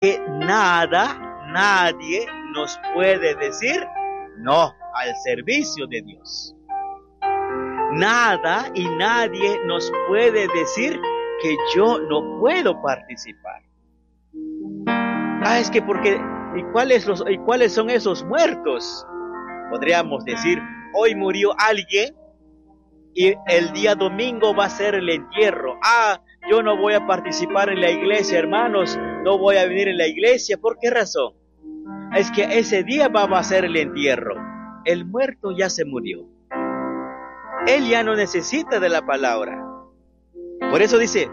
Que nada, nadie nos puede decir no al servicio de Dios. Nada y nadie nos puede decir que yo no puedo participar. Ah, es que porque, ¿y cuáles son esos muertos? Podríamos decir, hoy murió alguien y el día domingo va a ser el entierro. Ah, yo no voy a participar en la iglesia, hermanos, no voy a venir en la iglesia. ¿Por qué razón? Es que ese día va a ser el entierro. El muerto ya se murió. Él ya no necesita de la palabra. Por eso dice,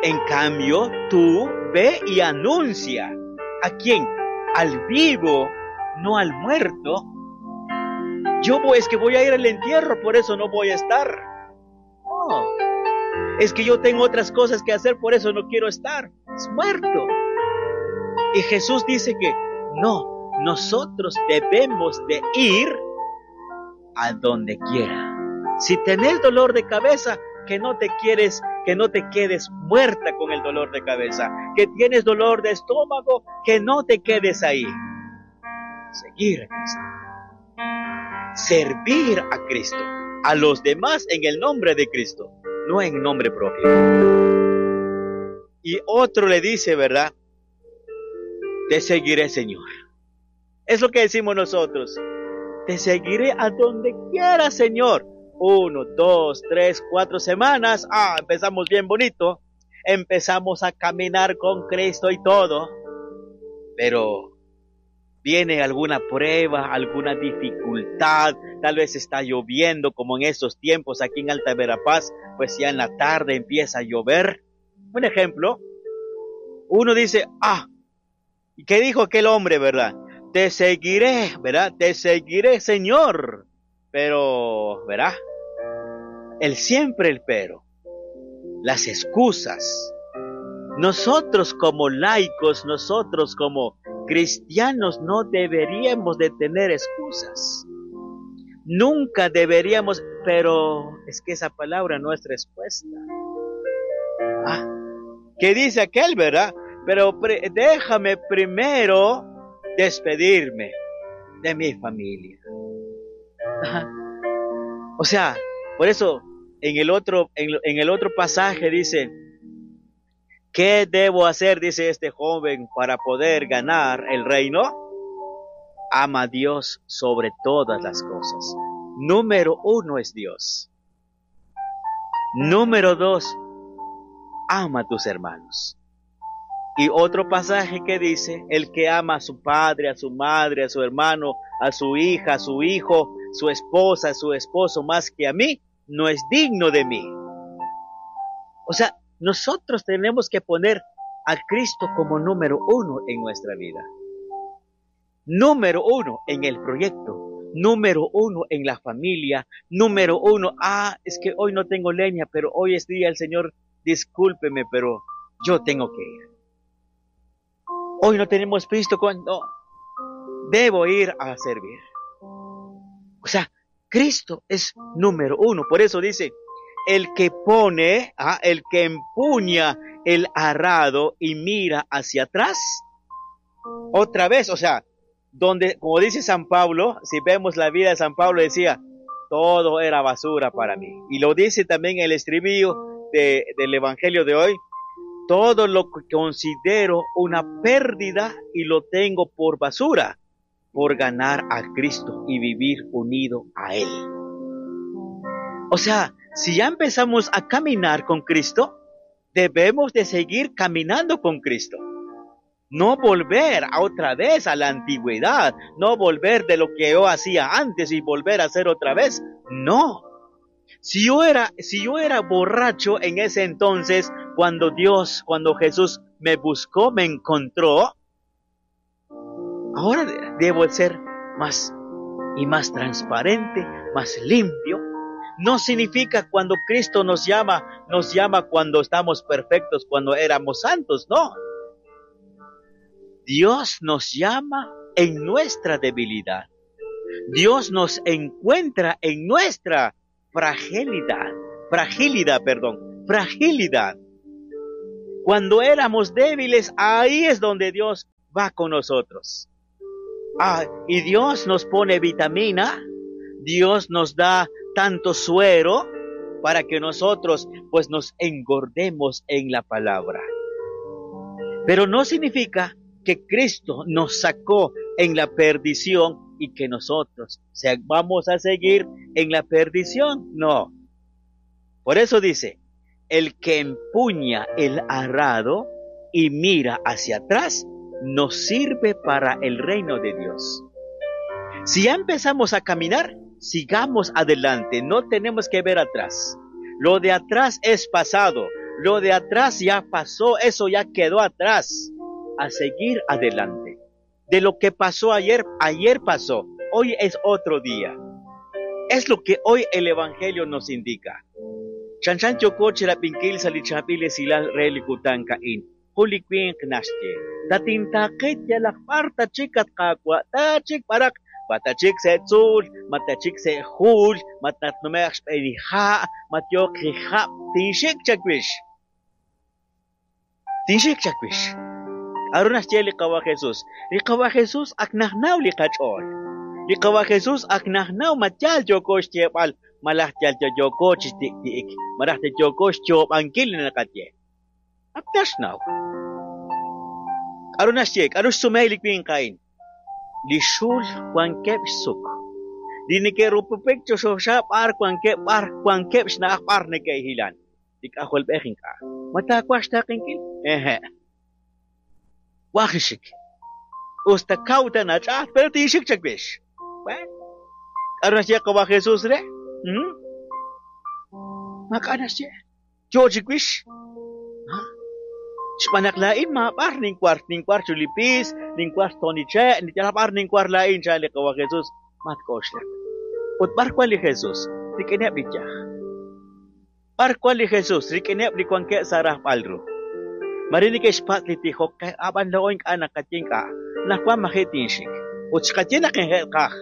en cambio, tú ve y anuncia. ¿A quién? Al vivo, no al muerto. Yo voy, es que voy a ir al entierro, por eso no voy a estar. No. Es que yo tengo otras cosas que hacer, por eso no quiero estar. Es muerto. Y Jesús dice que no, nosotros debemos de ir a donde quiera. Si tenés dolor de cabeza, que no te quieres, que no te quedes muerta con el dolor de cabeza. Que tienes dolor de estómago, que no te quedes ahí. Seguir a Cristo. Servir a Cristo, a los demás en el nombre de Cristo, no en nombre propio. Y otro le dice, ¿verdad? Te seguiré, Señor. Es lo que decimos nosotros. Te seguiré a donde quiera, Señor. 1, 2, 3, 4 semanas. Ah, empezamos bien bonito. Empezamos a caminar con Cristo y todo. Pero viene alguna prueba, alguna dificultad, tal vez está lloviendo como en estos tiempos aquí en Alta Verapaz, pues ya en la tarde empieza a llover. Un ejemplo, uno dice, ah, ¿y qué dijo aquel hombre, verdad? Te seguiré, ¿verdad? Te seguiré, Señor. Pero, ¿verdad? El siempre el pero, las excusas. Nosotros como laicos, nosotros como cristianos no deberíamos de tener excusas. Nunca deberíamos, pero es que esa palabra no es respuesta. Ah, ¿qué dice aquel, verdad? Pero déjame primero despedirme de mi familia. Ajá. O sea, por eso en el otro pasaje dice, ¿qué debo hacer? Dice este joven, para poder ganar el reino. Ama a Dios sobre todas las cosas. Número 1 es Dios. Número 2, ama a tus hermanos. Y otro pasaje que dice, el que ama a su padre, a su madre, a su hermano, a su hija, a su hijo, su esposa, a su esposo, más que a mí, no es digno de mí. O sea, nosotros tenemos que poner a Cristo como número 1 en nuestra vida. Número 1 en el proyecto. Número 1 en la familia. Número 1, ah, es que hoy no tengo leña, pero hoy es día del Señor, discúlpeme, pero yo tengo que ir. Hoy no tenemos pisto, cuando debo ir a servir. O sea, Cristo es número 1. Por eso dice, el que pone, el que empuña el arado y mira hacia atrás, otra vez, o sea, donde, como dice San Pablo, si vemos la vida de San Pablo, decía, todo era basura para mí. Y lo dice también el estribillo del Evangelio de hoy, todo lo que considero una pérdida y lo tengo por basura, por ganar a Cristo y vivir unido a Él. O sea, si ya empezamos a caminar con Cristo, debemos de seguir caminando con Cristo. No volver a otra vez a la antigüedad, no volver de lo que yo hacía antes y volver a hacer otra vez. No. Si yo era borracho en ese entonces, cuando Jesús me buscó, me encontró, ahora debo ser más y más transparente, más limpio. No significa cuando Cristo nos llama cuando estamos perfectos, cuando éramos santos, no. Dios nos llama en nuestra debilidad. Dios nos encuentra en nuestra fragilidad. Cuando éramos débiles, ahí es donde Dios va con nosotros. Ah, y Dios nos pone vitamina, Dios nos da tanto suero para que nosotros pues nos engordemos en la palabra. Pero no significa que Cristo nos sacó en la perdición y que nosotros vamos a seguir en la perdición. No. Por eso dice, el que empuña el arado y mira hacia atrás, no sirve para el reino de Dios. Si ya empezamos a caminar, sigamos adelante, no tenemos que ver atrás. Lo de atrás es pasado, lo de atrás ya pasó, eso ya quedó atrás. A seguir adelante. De lo que pasó ayer, ayer pasó, hoy es otro día. Es lo que hoy el Evangelio nos indica. Chanchan yokoche la pinkil salichapile silal relikutan kain. Hulikwin knaxche. Tatintaqit yalaq parta chikat qaqwa tachik parak matachik se tzul, matachik se jul, matatnumex p'elija, matyoq jija, tinxik chakwish. Tinxik chakwish. Arunaxche liqawa Jesús. Liqawa Jesús aknajnaw liqach'ol. Liqawa Jesús aknajnaw matyal yokox tyeb'al malaj tyal yokoch tiktiik. Malaj yokox chob'ankil naqatye. Aknaxnaw. Arunaxche, arux sumay likwin kain. Lixul wankeb suk. Dinike rupupik choxoxa par wankeb par wankeb xnaq par neke hilan. Likajol bejinka. Matakwax taqinkil? Eje. Wajishik. Usta kauta nachat, pero tishik chakwish. Bueno. Arunaxche qawa Jesús re? Makanaxche. Yo chikwish. Xb'anaq la'in mab'ar ninkwar ninkwar chulipis, ninkwar toniche, nityalab'ar ninkwar la'in cha li qawa Jesús matk'oxlak. Ut b'ar kwal li Jesús, rik'ineb' li yaj. B'ar kwal li Jesús, rik'ineb' li wankeb' sa' rajb'al ru. Mare neke'xpatz' li tijok qe, ab'an la'o ink'a' naqaye ink'a'. Anaqwan maji' tinxik. Ut xqaye naq inje'qaj.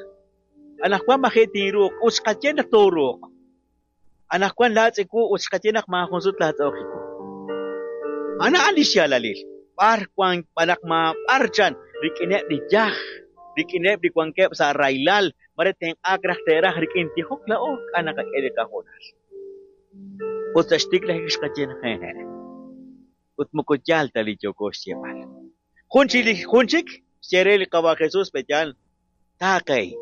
Anaqwan maji' tinruuq, ut xqaye naq tooruuq. Anaqwan laatz'iku, ut xqaye naq maajun sut laatz'ooqiku. Ana an li xyaalalil. B'ar wan b'anaq ma b'ar chan rik'ineb' li yaj, rik'ineb' li wankeb' sa' raylal, mare tenq'aak raj te'raj rik'in tijok la'o k'a' naqak'e li qajoonal. Ut sa' xtiklajik xqaye naq jeje. Ut moko yaal ta li yooko xyeeb'al. Jun chik li jun chik xye re li qawa Jesús petyal taaqey.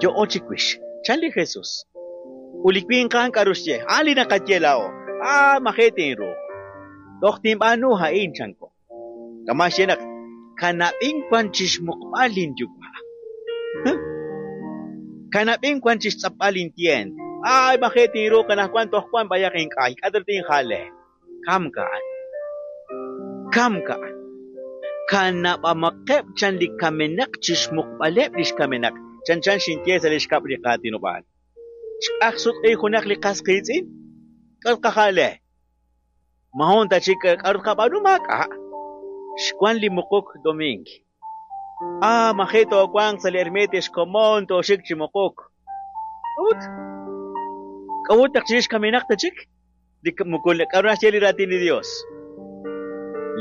Yo'o chikwix. Chan li Jesús. Ut li winqan k'aru xye. Ah, li naqaye la'o. Ah, maji' tinruuq. Toj tinb'aanu ha'in chanko. Kama xye naq kanab'in wan chixmuqb'al linyuwa'. Kanab'in wan chixtz'apb'al lintient. Ay, maji' tinruuq anaqwan toj wan b'ayaq ink'ay. K'aru tinjale. Kamka'an. Kamka'an. Kanab'amaqeb' chan li kamenaq chixmuqb'aleb' lix kamenaq. Chan chan xinye sa' lix kab' li qaatinob'aal. Xk'aj sutq'i junaq li qas qiitz'in. K'aru qajale. Mahon ta chik k'aru qab'aanu maak'a'. Xwan li muquk doming. Ah, maji' toowanq sa' li ermita xkomon tooxik chi muquk. K'a'ut? K'a'ut naq chirix kamenaq ta chik? Li moko k'aru naxye li raatin li Dios.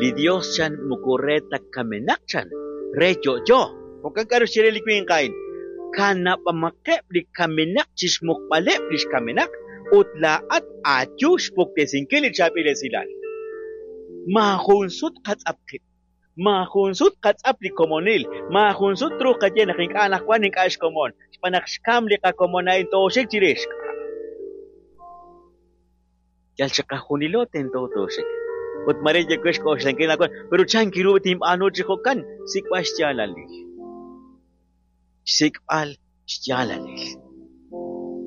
Li Dios chan moko re ta kamenaq chan, re yo'yo. Jo'kan k'aru xye re li winq a'in. Kanab'amaqeb' li kamenaq chixmuqb'aleb' lix kamenaq ut laa'at aayu xpuktesinkil li chaab'il esilal. Maajun sut qatz'ap qib'. Maajun sut qatz'ap li komonil. Maajun sut truuq qaye naq ink'a' anaqwan ink'a' xkomon. Xb'aan naq xkam li qakomon a'in tooxik chirix. Yal chiqajunilo tento tooxik. Ut mare yewex k'oxlankil anaqwan, pero chan kiru tinb'aanu chi jo'kan, sik'b'al xyaalalil. Xsik'b'al xyaalalil.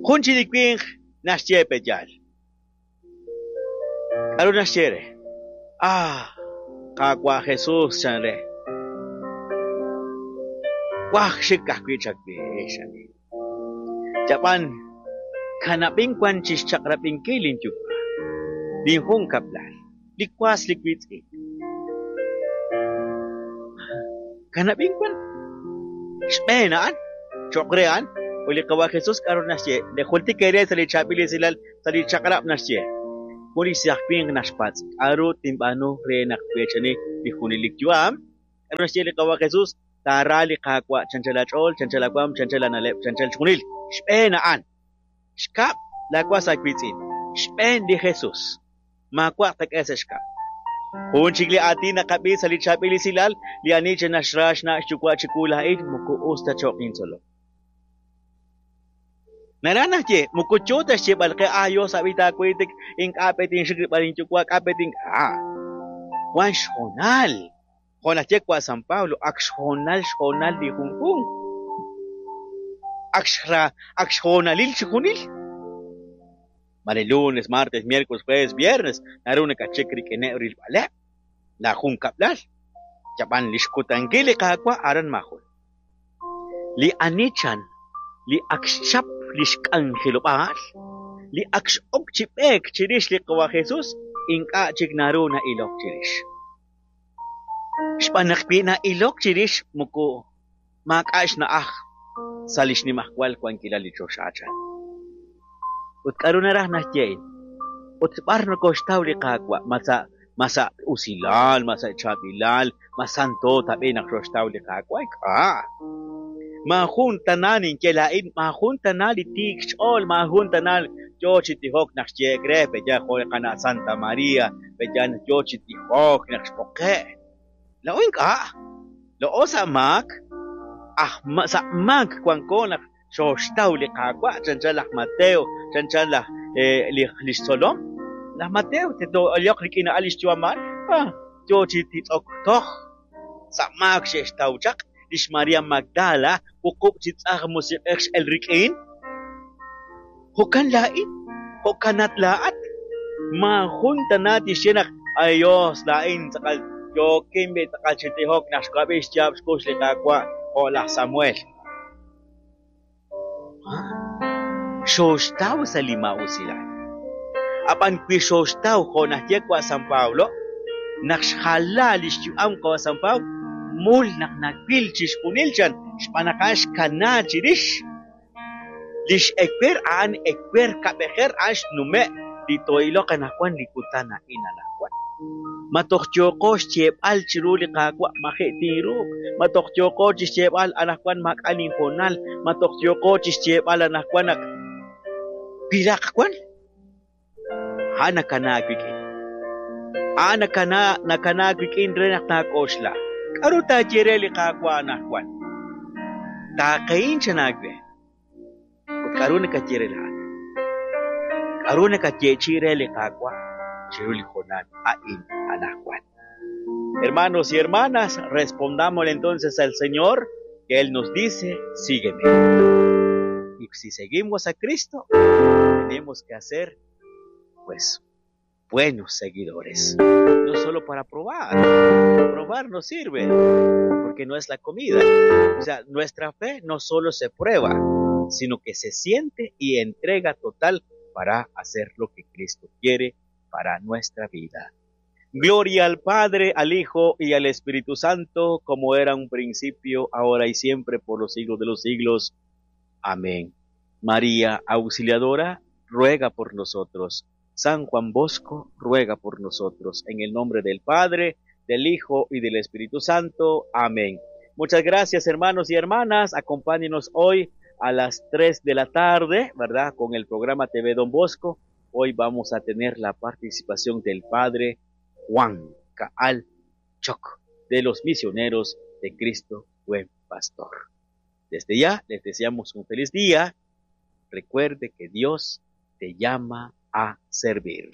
Jun chi li winq naxye petyal. K'aru naxye re? Ah, Qaawa' Jesús chan re. Waj xik ajwi' chawix, ani. Chab'an kanab'in wan chixchaq'rab'inkil linyuwa'. Linjun kab'lal, li was li wiitz'in. Kanab'in wan xb'een a'an, cho'q re a'an, ut li Qawa' Jesús k'aru naxye, li jultik eere sa' li chaab'il esilal sa' li chaq'rab' naxye. Jun li saaj winq naxpatz', k'a'ru tinb'aanu re naq tweechani li junelik yu'am? K'a'ru naxye li Qawa' Jesus? Taara li Qaawa' chanchal aach'ool, chanchal aawaam, chanchal aana'leb', chanchal chixjunil. Xb'een a'an. Xkab', laawas aawiitz'in. Xb'een li Jesus. Maawa' tqak'e sa' xkab'. Jun chik li aatin naqab'i sa' li chaab'il esilal, li ani chi naxra xna' xyuwa' chiwu laa'in moko us ta cho'q intzolom. Naraj naxye, moko yo ta xyeeb'al qe, ah, Yos ab'i taawiitik, ink'a' pe tinxik rilb'al inyuwa', k'a' pe tink'a'. Wan xhoonal. Jo' naxye wa' San Pablo, ak xhoonal xhoonal li junjunq. Ak xra, ak xhoonalil chixjunil. Mare lunes, martes, miércoles, jueves, viernes, naru nakatxik rik'ineb' rilb'aleb' la junkab'lal. Yab'an li xkutankil li Qaawa' aran maajun. Li ani chan, li ak xchap li xk'anjelob'aal, li ak x'ok chi b'eek chirix li Qawa' Jesus, ink'a' chik naru na'ilok chirix. Xb'aan naq wi na'ilok chirix moko maak'a' xna'aj sa' li xnimajwal wankilal li choxa chan. Ut k'a'ru naraj naxye a'in? Ut b'ar nokoxtaw li Qaawa'? Ma sa' ma sa' usilal, ma sa' chaab'ilal, ma santo tab'i' naq xoxtaw li Qaawa'? Ink'a'. Maajun tana ninye laa'in, maajun tana li tiik xch'ool, maajun tana yo chi tijok naq xyeek re, pe'yaal jo' li qana' Santa María, pe'yaal naq yo chi tijok naq xb'oqe'. Laa'o ink'a'. Laa'o sa' maak, aj sa' maak wanko naq xooxtaw li Qaawa', chanchan laj Mateo, chanchan laj li xtzolom. Laj Mateo tento rik'in a'an li xyu'am a'an, ah, yo chi titz'ok toj. Sa' maak xe'xtaw chaq lix María Magdala, wuqub' chi tz'aj musiq'ej x'el rik'in. Jo'kan laa'in, jo'kanat laa'at. Maajun tana tixye naq, ay Dios, laa'in tz'aqal yookin b'i tz'aqal chi tijok naq xwab'i xyaab' xkux li Qaawa' jo' laj Samuel. Xooxtaw sa' li maa'usilal. Ab'an wi xooxtaw jo' naxye wa' San Pablo, naq xjala li xyu'am qawa' San Pablo, mul naq nawil chixjunil chan xb'aan naq a'an xkana chirix. Lix ewer a'an ewer kab'ejer a'an xnume' li too'iloq anaqwan li kutan a'in anaqwan. Ma toj yooqo xyeeb'al chiru li Qaawa' maji' tinruuq, ma toj yooqo chi xyeeb'al anaqwan maak'a' linhoonal, ma toj yooqo chi xyeeb'al anaqwan naq wiraq wan. A'an nakana wik'in. A'an nakana nakana wik'in re naq taak'oxla. K'a'ru taaye re li Qaawa' anaqwan? Taaqehin chan aawe. Ut k'a'ru nakaye re laa'at? K'a'ru nakayeechi'i re li Qaawa' chiru li hoonal a'in anaqwan? Hermanos y hermanas, respondamos entonces al Señor que Él nos dice, sígueme. Y si seguimos a Cristo, tenemos que hacer, pues, buenos seguidores. No solo para probar. Probar no sirve, porque no es la comida. O sea, nuestra fe no solo se prueba, sino que se siente y entrega total para hacer lo que Cristo quiere para nuestra vida. Gloria al Padre, al Hijo y al Espíritu Santo, como era un principio, ahora y siempre, por los siglos de los siglos. Amén. María Auxiliadora, ruega por nosotros. San Juan Bosco, ruega por nosotros. En el nombre del Padre, del Hijo y del Espíritu Santo. Amén. Muchas gracias, hermanos y hermanas. Acompáñenos hoy a las 3 de la tarde, ¿verdad? Con el programa TV Don Bosco. Hoy vamos a tener la participación del Padre Juan Caal Choc, de los misioneros de Cristo Buen Pastor. Desde ya les deseamos un feliz día. Recuerde que Dios te llama a servir.